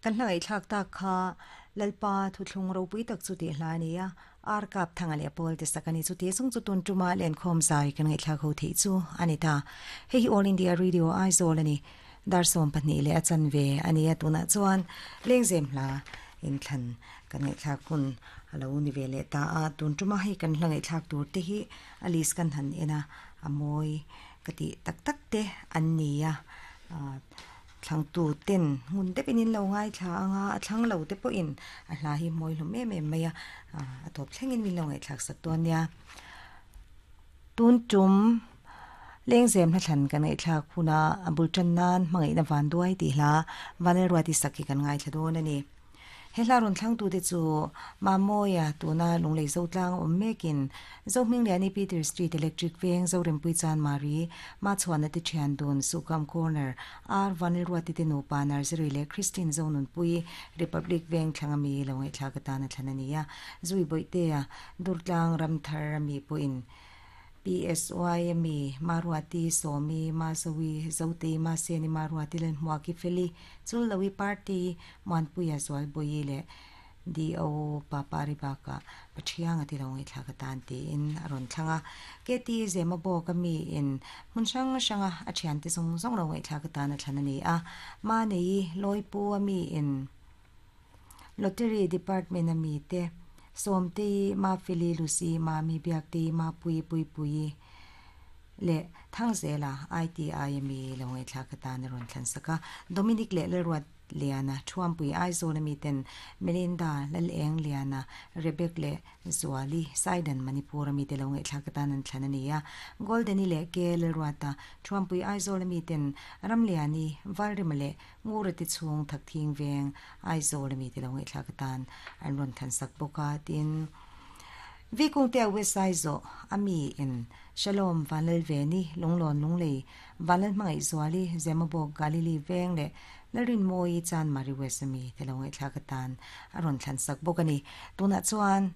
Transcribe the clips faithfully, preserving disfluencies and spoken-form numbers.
Kan hla ngaihthlak tak kha Lalpa thuthlung ropui tak chu tih hla a ni a, ar kap thanga leh pawl te sak a ni. Chuti chung chu tun tuma lenkhawm zai kan ngaihthlak ho theih chu a ni ta. Hei hi All India Radio Aizawl a ni. Dar sawm pahnih leh a chanve a ni a, tunah chuan lengzem hla inthlan kan ngaihthlak hun a lo ni ve leh ta a. Tun tuma hei kan hla ngaihthlak tur te hi a list kan han en a, a mawi ka tih tak tak te an ni a. Thlangtu ten hmun deuhin in lo ngaithla anga a thlang lo te pawhin a hla hi mawi hlawm em em mai a, a tawp thlengin min lo ngaihthlak sak dawn nia. Tun tum lengzem hla thlan kan ngaihthlak huna a bul tan nan hmangaihna van duai tih hla Vanlalruati sak hi kan ngaithla dawn a ni. He hla rawn thlangtu te chu Mamawia tuna Lunglei Zotlang awm mekin Zohmingliani Peter Street Electric Veng Zorempui Chanmari Machhuana te thian dun Sukam Corner R Vanlalruati te nupa Nursery leh Christine Zonunpui Republic Veng thlanga mi lo ngaihthlak atana thlan a ni a. Zui Bawihtea Durtlang Ramthar ami pawhin P S Y ami Maruati Sawmi Mazawi Zotei Maseni Maruati Lalhmuaki Feli Chullowi Party Muanpuia Zualbawi leh D O Papari bakah Pathianga ti lo ngaihthlak atan tiin a rawn thlang a. K T Zema bawk ami in hmun hrang hranga a thian te zawng zawng lo ngaihthlak atan a thlan a ni a. Manei Lawipu ami in Lottery Department ami te Sawmtei Mafeli Lucy Mami Biaktei Mapui Puipui leh Thangzela I T I ami lo ngaihthlak atan a rawn thlan sak a. Dominic leh Lalruat Liana Thuampui Aizawl ami ten Melinda Laleng Liana Rebek leh Zuali Saidan Manipur ami te lo ngaihthlak atan an thlan a ni a. Goldeni leh K Lalruata Thuampui Aizawl ami ten Ramliani Valrima leh Ngura te chhung Thakthing Veng Aizawl ami te lo ngaihthlak atan an rawn thlan sak bawk a. Tin, Vikungte West Aizawl ami in Shalom Vanlalveni Lunglawn Lunglei Vanlal Hmangaih Zuali Zemabawk Galili Veng leh Lalrin Mawi Chanmari West ami te lo ngaihthlak atan a rawn thlan sak bawk a ni. Tunah chuan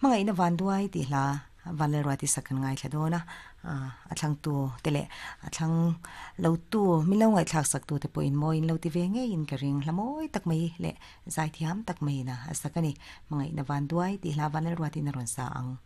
hmangaihna van duai tih hla Vanlalruati sak kan ngaithla dawn a, a thlangtu te leh a thlang lo tu min lo ngaihthlak sak tu te pawhin mawiin lo ti ve ngeiin ka ring. Hla mawi tak mai leh zaithiam tak maiin a sak a ni. Hmangaihna van duai tih hla Vanlalruatin a rawn sa ang.